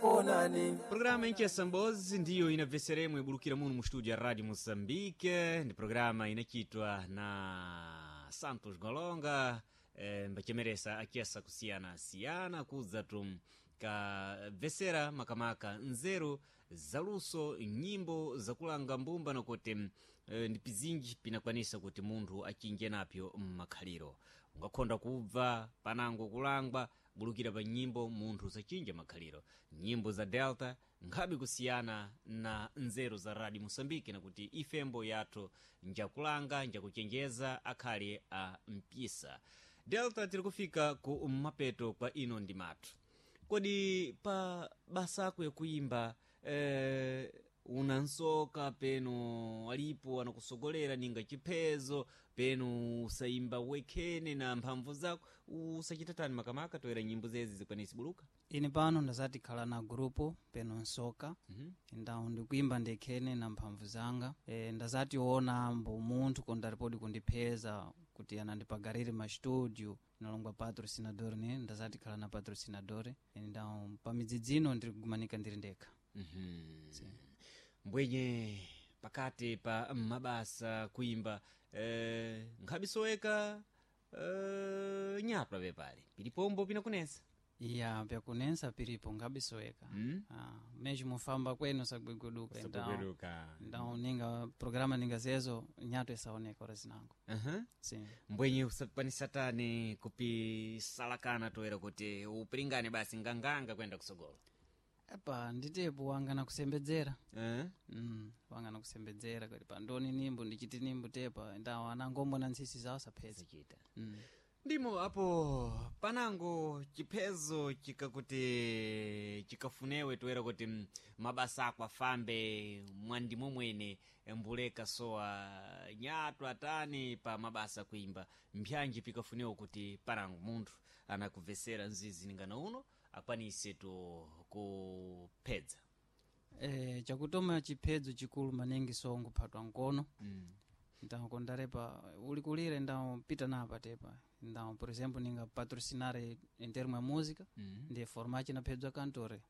Konani. Programa Inchesa Mbozi ndiyo inabveseremo ibulukira muno mu studio ya Radio Moçambique. Ndi programa inachitwa na Santos Golonga, mbachemeresa achesa kusiyana-siyana kudza tu kabvesera makamaka nzeru zaluso, nyimbo zakulanga mbumba, nakuti ndi pizinji pinakwanisa kuti munthu achinje napyo mmakhaliro. Ungakhonda kubva panango kulangwa bulukira pa nyimbo, munthu usachinja makhaliro. Nyimbo za Delta nkhabe kusiyana na nzeru za Radio Moçambique, nakuti ifembo yathu njakulanga, njakuchenjeza akhale a mpisa. Delta, tiri kufika ku mapeto kwa ino ndi mathu. Kodi pa basa ako yakuimba, unansoka peno alipo anakusogolera ninga chiphezo, peno usayimba wekhene na mphamvu zako, usachita tani makamaka toera nyimbo zezi zikwanisi buluka? Ine pano ndazati khala na grupu peno nsoka. Ndawo ndikuimba ndekhene na mphamvu zanga. Ndazati ona mbo munthu kondaripodi kundipheza kuti anandipagarire ma studio, inalongwa patrocinador, ne ndazati khala na patrocinador. Ndawo pamidzidzino ndiri kugumanika ndiri ndekha. Mbwenye pakati pa mabasa kuimba, nkhabisoweka, nyatwa pepale pilipombo pinakunesa? Iya, pyakunensa piripo ngabisoweka. Ah, meji mufamba kwenu sagweguduka. Sagweguduka. Ndawo ninga programa ninga zezo nyato isaoneka ora zinango. Sim. Mbwenye usakwanisa tani kupisalakana toera kuti upilingane basi nganganga kwenda kusogolo? Epa, nditepo wanga nakusembedzera. Eh? Wanga nakusembedzera kuti pandoni nimbo ndichiti nimbo tepa, ndawo anangombo na ntsisi zawo sapheza. Sachita. Ndimo apo panango chiphezo chikakuti chikafunewe toera kuti mabasa ako afambe mwandimo mwene, mbuleka sowa nyatwa atani pa mabasa kuimba, mpyanji pikafunewa kuti panango munthu anakubvesera mzizi ningana uno akwanise to kuphedza? Chakutoma chiphedzo chikulu maningi songo phatwa nkono. Ndawo kondarepa ulikulire, ndawo pita napa tepa, ndawo por exemplo ninga patrocinare em termo ya música. Ndiye forma chinaphedzwa kantore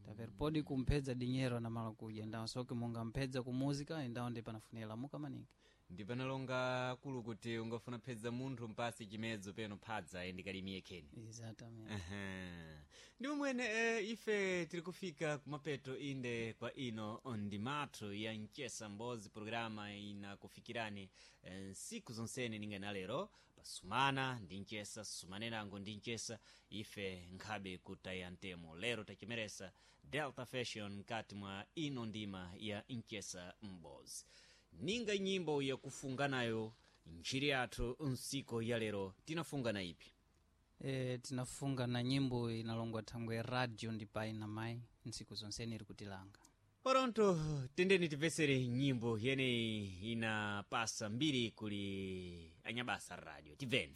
taper podi kumphedza dinheiro na mala kudya, ndawo soke munga mphedza ku música, ndawo ndi panafunira lamuka maningi. Ndi panalonga kulu kuti ungafuna phedza munthu mpasi chimedzo peno phadza endikalimie kheni. Exatamente. Aha. Ndi mwene, ife tiri kufika kumapeto inde kwa ino ndimathu ya Mchesa Mbozi, programa inakufikirani nsiku zonsene ninga na lero pasumana ndi mchesa sumanenango ndi mchesa ife nkhabe kutaya ntemo. Lero tachimeresa Delta Fashion mkati mwa ino ndima ya Mchesa Mbozi. Ninga nyimbo yakufunga nayo ntchiri yathu nsiku ya lero, tinafunga na ipi? Tinafunga na nyimbo inalongwa thangwe radio ndi pai na mai ntsiku zonsene iri kutilanga. Pronto, tendeni tipesere nyimbo yeneyi inapasa mbiri kuli anyabasa radio. Tibveni.